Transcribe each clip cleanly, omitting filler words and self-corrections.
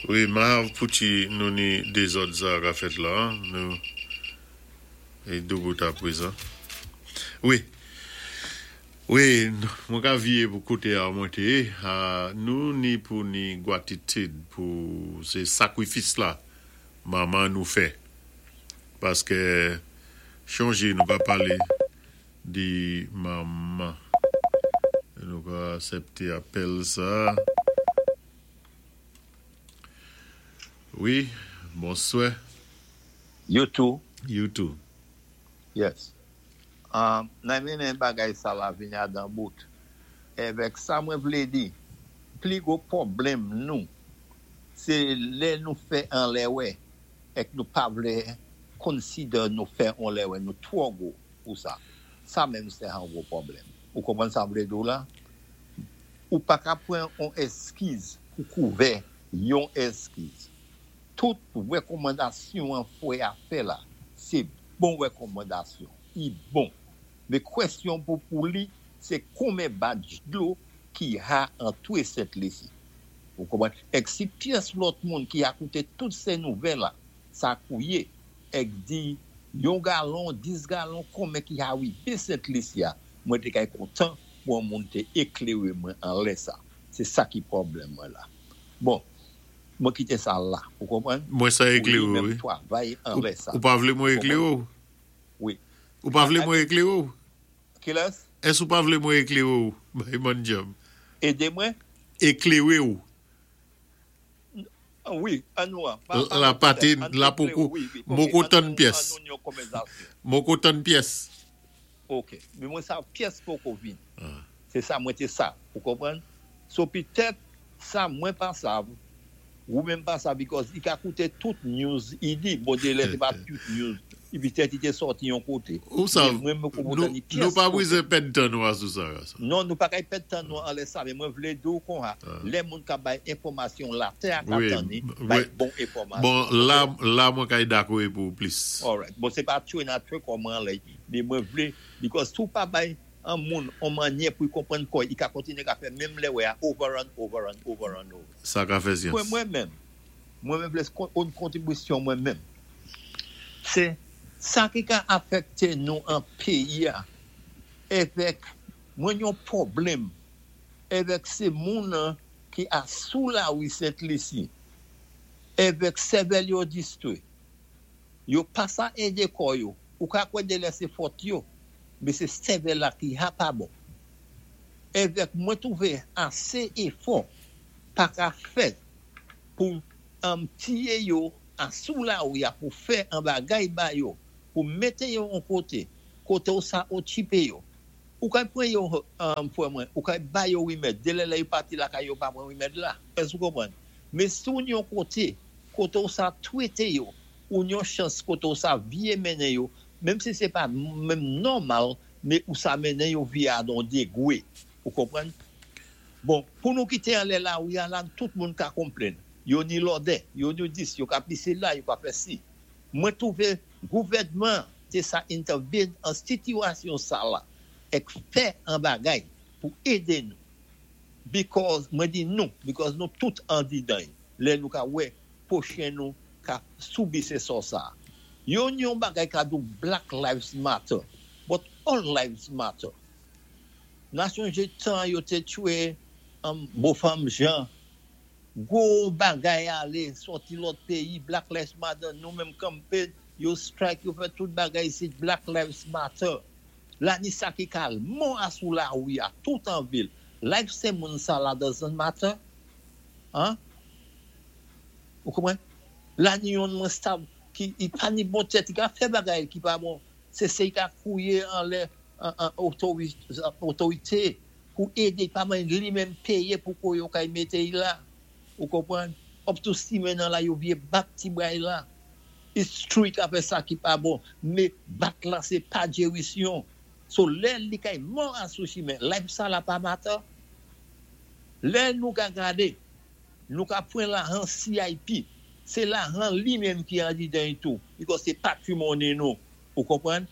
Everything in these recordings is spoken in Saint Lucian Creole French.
Wi, mahav pouti nou ni dézòd sa ka fèt la, nou é doubout a pwézan. Wi, wi, mwen ka viyé pou koté a mwen té yé, nou ni pou ni gwatitid pou sé sakwifis la manman nou fè. Paskè chonjé nou ka palé di manman. Nou ka asèpté apèl sa. Wi, bonswè. You too. You too. Yes. Nan mennen bagay sa la vini adan bout. Evèk sa mwen vlé di, pli gwo pwoblèm nou, sé lè nou fè an lèwè èk nou pa vlé consider nou fè on lèwè, nou twò gwo pou sa. Sa menm sè an gwo pwoblèm. Ou konprann sa m vlé di w la? Ou pa ka pran on eskiz pou kouvè yon eskiz. Tout rekòmandasyon an fwe a fè la, sé bon rekòmandasyon. I bon. Men kwèsyon pou pou li, sé konmen badj dlo ki ha antwé Sent Lisi. Ou konprann? Èk si pyès lòt moun ki ha kouté tout sè nouvèl la, sa kouye, èk di yon galon, 10 galon konmen ki ha wivé Sent Lisi a, mwen té kay kontan pou on moun te eklere mwen anlè sa. Se sa ki pwoblèm mwen la. Bon, mwen kite sa la, ou konprann? Mwen sa Pou li eklere w menm wi. twavay anlè sa. Ou pa vle Ou mwen konprann? eklere w? Wi. Ou pa vle mwen eklere w? Kilès? Èske ou pa vle mwen eklere w, Bayman Djab? Ede mwen? Eklere w. Wi, an nou an. Pa, pa La mwen pate, petèt. An la eklere poko, w, wi, wi. m Ok, poko an tann nou, pyès. an nou yon konvèzasyon. M poko tann pyès. Ok. Men mwen sa pyès poko vin. Se sa mwen té sa. Ou konprann? So pitèt sa mwen pa sav, wou menm pa sav because i ka koute tout news i di. Bon delè sé pa tout news. I pitèt i té sòti yon koté. Ou sav, Men mwen mwen nou, konprann i nou pyès pa kote. bwizen pèd tan nou a sou sa, Gason. Non, nou pa kay pèd tan nou anlè sa, men mwen vlé di w konha, lè moun ka bay enfòmasyon latè a ka Wi, tanni, bay mwen, bon enfòmasyon. bon, Ok? la, la mwen kay dakò é pou ou plis. Alright. Bon sé pa twe nan twe kò mwen anlè, men mwen vlé, because si w pa bay an moun on mannyè pou i konprann kò i ka kontinye ka fè menm lèwè a over and over and over and over. Sa ka fè Pwen syans. mwen menm, mwen menm vle on kontribisyon mwen menm, se sa ki ka afèkte nou an peyi a evèk mwen yon pwoblèm evèk se moun ki a sou lari Sent Lisi evèk sèvèl yo distwe. Yo pa sa ede kò yo. Ou ka kwè delè se fòt yo, men se sèvèl la ki ha pa bon. Evèk mwen twouve ase efò pa ka fèt pou um tiye yo a sou lari a pou fè an bagay ba yo, pou mete yo on kote, kote ou sa otipe yo. Ou kay pran yo um frè mwen, ou kay ba yo rimèd, delè lè yo pati lakay yo pa pran rimèd la. Èske ou konprann? Men si w yon kote, kote w sa twete yo, ou yon chans kote w sa vye mennen yo, menm si se pa menm nòmal, men ou sa mennen yo vye a don degwe. Ou konprann? Bon, pou nou kite anlè lari a la, tout moun ka konplenn. Yo ni lòdè, yo ni dis, yo ka pise la, yo ka fè si. Mwen twouve gouvènman te sa entèvin an sitiyasyon sa la èk fè an bagay pou ede nou. Because mwen di nou because nou tout andidan y lè nou ka wè pwochen nou ka soubi se sò sa. Yon yon bagay ka di w black lives matter but all lives matter. Na sonje tan yo te tchwe Bofanm Jean gwo bagay ale sòti lòt peyi black lives matter nou menm kanpe yo strike yo fè tout bagay isit black lives matter. La ni sa ki ka al mò a sou lari a tout an vil life se moun sa la doesn't matter an ou konprann la ni yonn mwen sav ki i pa ni bon tèt i ka fè bagay ki pa bon se se i ka kouye anlè otorite pou ede i pa menm li menm peye pou ko yo kay mete i la ou konprann up to simen nan la yo vye bat ti bray la. It's true li ka fè sa ki pa bon me bat la se pa jerisyon so lè li kay mò a sou chimen life sa la pa matter lè nou ka gade nou ka pran lahan CIP se lahan li menm ki andidan y tou because se patrimony nou ou konprann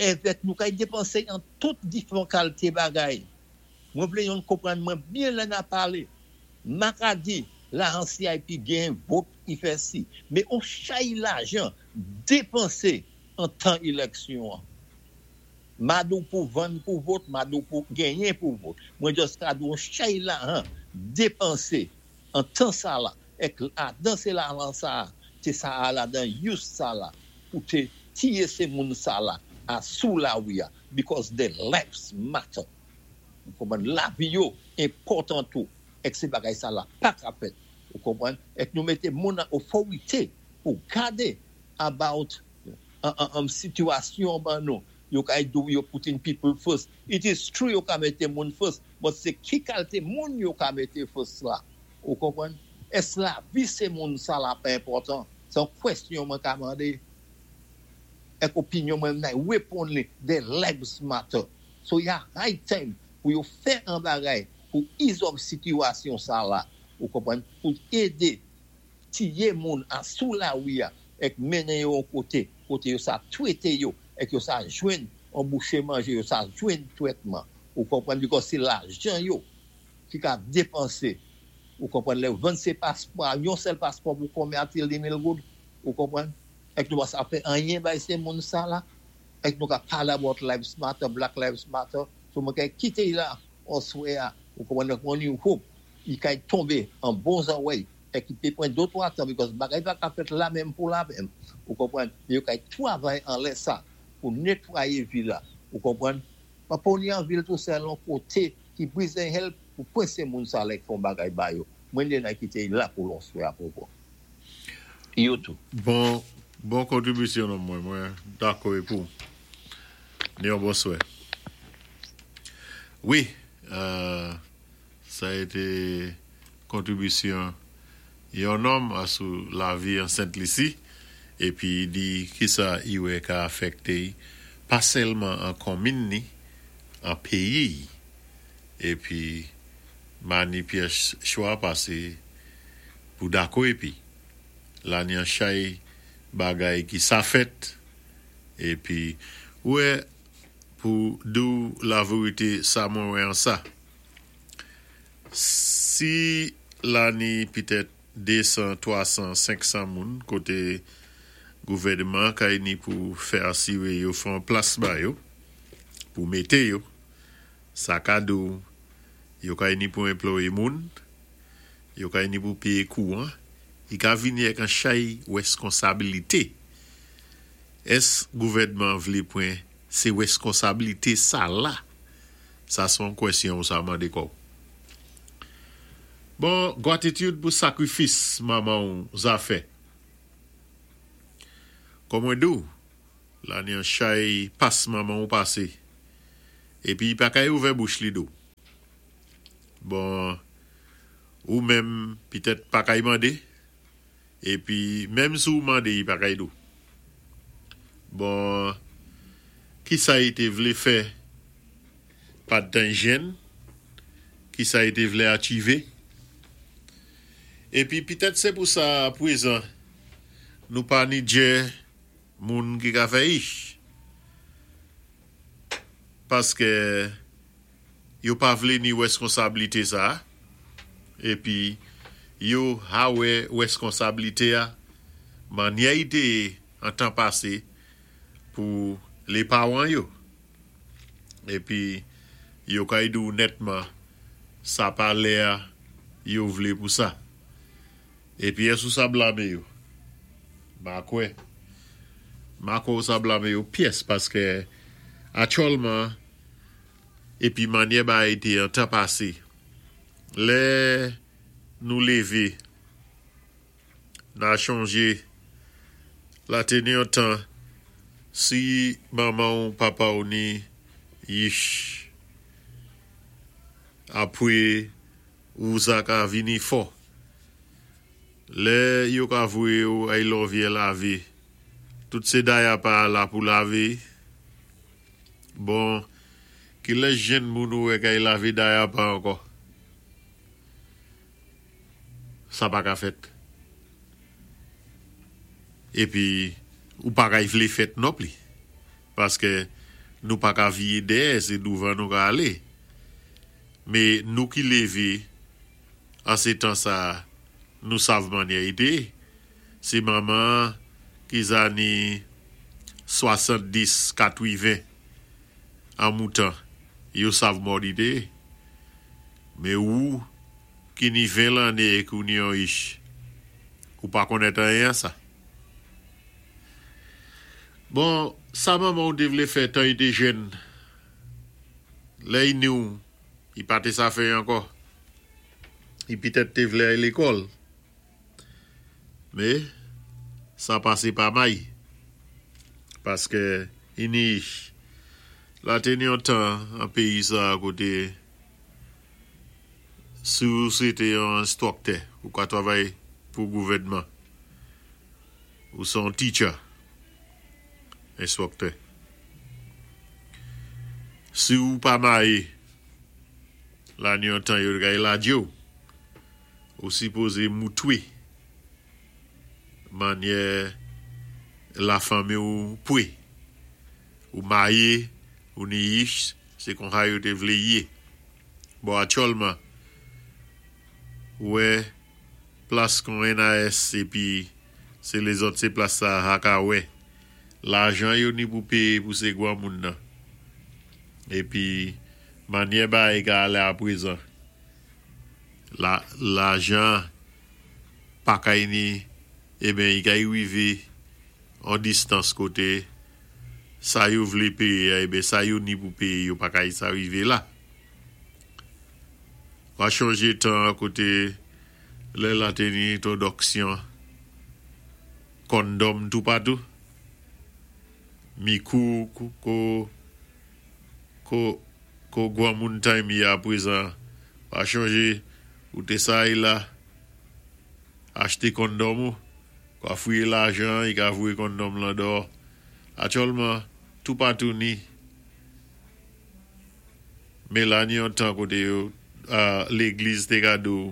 evèk nou kay depanse an tout diferan kalte bagay mwen vle yon konprann mwen byen lè na pale ma ka di. Lajan CIP genyen vote i fè si. Mé on chay lajan dépansé an tan éléksyon an. M pa di w pou vann pou vote, m pa di w pou genyen pou vote. Mwen just ka di w on chay lajan dépansé an tan sa la èk ladan sé lajan sa a té sa a ladan use sa la pou té tiyé sé moun sa la a sou lawi a because their lives matter. Ou konprann? Lavi yo enpòtan tou èk sé bagay sa la pa ka fèt. Ou konprann? Èk nou mété moun an oforité pou gadé about an sitiyasyon ban nou. Yo ka di w yo putting people first. It is true yo ka mété moun first, but sé ki kalté moun yo ka mété first la. Ou konprann? Èske lavi sé moun sa la pa enpòtan? Sé yon kwèsyon mwen ka mandé. Èk opinyon mwen nan réponn li, their lives matter. So ya high time pou yo fè an bagay pou izòv sitiyasyon sa la. Ou konprann? Pou édé tiye moun a sou lawi a èk mennen yo yon koté, koté yo sa twété yo èk yo sa jwenn yon bouché manjé, yo sa jwenn twètman. Ou konprann? Because sé lajan yo ki ka dépansé. Ou konprann? Lè yo vann sé paspò a, yon sèl paspò pou konbyen atil 2000 goud? Ou konprann? Èk nou pa sa fè anyen bay sé moun sa la? Èk nou ka palé about lives matter, black lives matter? So mwen kay kité y la oswè a. Ou konprann? Donk mwen ni hope i kay tonbé an bon zòwèy èk i pé pran de twa tan because bagay pa ka fèt la menm pou la menm. Ou konprann? Men yo kay twavay anlè sa pou netwayé vil la. Ou konprann? Pa poni an vil tou sèl on koté ki brize help pou kwensé moun sa lè k fè on bagay ba yo. Mwen de nan kité y la pou lonswè a popo. Yo tou. Bon bon kontribisyon non mwen mwen dakò e pou ni yon bonswè wi sa ete kontribisyon yon nonm a sou lavi an Sent Lisi epi di kisa i wè ka afèkte i pa sèlman an konmin ni an peyi i epi mani pyès chwa pase pou dako epi la ni an chay bagay ki sa fèt epi ou wè pou di w laverite sa mwen wè an sa. Si la ni pitèt 200, 300, 500 moun koté gouvèdman kay ni pou fè asiré yo fè on plas ba yo pou mété yo, sa ka di w yo kay ni pou enployé moun, yo kay ni pou péyé kouwan, i ka vini èk an chay wèskonsabilité. Ès gouvèdman vlé pwen sé wèskonsabilité sa la? Sa son kwèsyon ou sa mande kòw. Bon gwatitid pou sakrifis manmanw zafè. Kòm mwen diw lane an chay pas manmanw pase epi i pa kay ouvè bouch li diw. Bon ou menm pitèt pa kay mande Epi menm si w mande y pa kay di w. Bon kisa y te vle fè padtan y jenn? Kisa y te vle achive? Epi pitèt se pou sa pwezan nou pa ni djè moun ki ka fè ich. Paskè. Yo pa vlé ni wèskonsablité sa a, épi yo ha wè wèskonsablité a mannyè i té yé an tan pasé pou lé pawan yo. Épi yo kay di w nètman sa pa lè a yo vlé pou sa. Épi ès ou sa blame yo? Ma kwè. Ma kwè ou sa blame yo pyès paskè atyòlman Epi mannyè bagay te an tan pase. Lè nou leve, na chonje la te ni yon tan si manman w papa w ni yich apre ou sa ka vini fò. Lè yo ka voye w ay lòvyè lave, tout se dayapa la pou lave. Bon kilè jenn moun ou wè kay lave dayapa ankò? Sa pa ka fèt. Epi ou pa kay vle fèt nonpli. Paske nou pa ka viye dèyè se douvan nou ka ale. Me nou ki leve an se tan sa. Nou sav mannyè i té. Sé manman ki zanni 70, 80 an moutan, yo sav mòd i té. Mé ou ki ni 20 lanné épi ou ni yon ich, ou pa konnèt anyen an sa. Bon, sa manman ou té vlé fè tan i té jèn, lè i ni ou, i pa té sa fè ankò. I pitèt té vlé ay lékòl. Mé, sa pasé pa may. Paskè i ni ich. La té ni yon tan an péyi sa koté si ou sé té yon enstwoktè, ou ka twavay pou gouvèdman. Ou sé yon teacher, enstwoktè. Si ou pa mayé, la ni yon tan yo kay ladjé ou. Ou sipozé moutwé mannyè lafanmi ou pwé. Ou mayé, ou ni ich, sé konsa yo té vlé yé. Bon aktyèlman, ou wè plas kon NAS épi sé lézòt sé plas sa a ka wè lajan yo ni pou péyé pou sé gwanmoun nan. Épi mannyè bagay ka alé aprezan la lajan pa kay ni eben i kay rivé an distans koté sa yo vlé péyé a eben sa yo ni pou péyé yo pa kay sa rivé la. Wa chonjé tan koté lè la té ni entwodòksyon kondòm toupatou, mikou ko ko ko gwanmoun time yé aprezan wa chonjé ou té sa y la achté kondòm ou wa fouyé lajan i ka voyé kondòm lan dò aktyèlman toupatou ni Mé la ni yon tan koté yo légliz té ka di w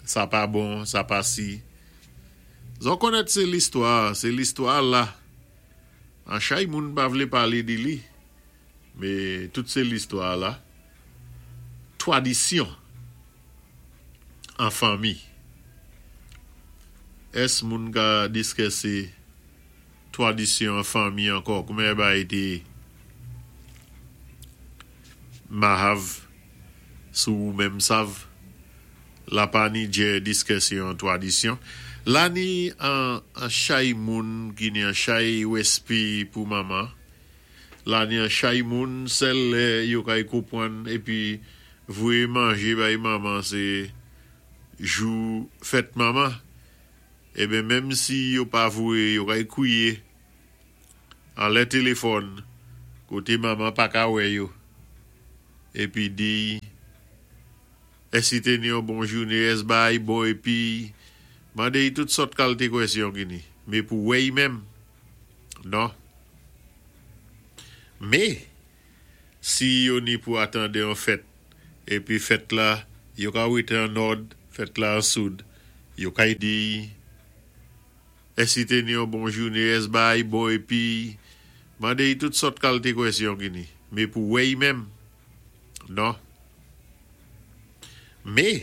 sa pa bon, sa pa si. Zò konnèt sé listwa, sé listwa la. An chay moun pa vlé palé di li, mé tout sé listwa la. Twadisyon an fanmi. Ès moun ka diskèsé Twadisyon an fanmi ankò koumen bay te mahav sou ou menm sav la pa ni djè diskèsyon an twadisyon la ni an chay moun ki ni an chay wespi pou manman la ni an chay moun sèl lè yo kay kopwann epi voye manje bay manman se jou fèt manman. Eben menm si yo pa voye yo kay kwiye anlè telefòn kote manman paka wè yo epi diy ès i te ni yon bon joune ès baay bon epiy mandey tout sòt kalte kwèsyon ki ni me pou wèy menm non me Si yo ni pou atande yon fèt, épi fèt la, yo ka wété an nòd, fèt la an soud, yo kay diy, Ès i té ni yon bon joune, ès baay bon épi mandé y tout sòt kalté kwèsyon ki ni. Mé pou wè y menm, non. Mé.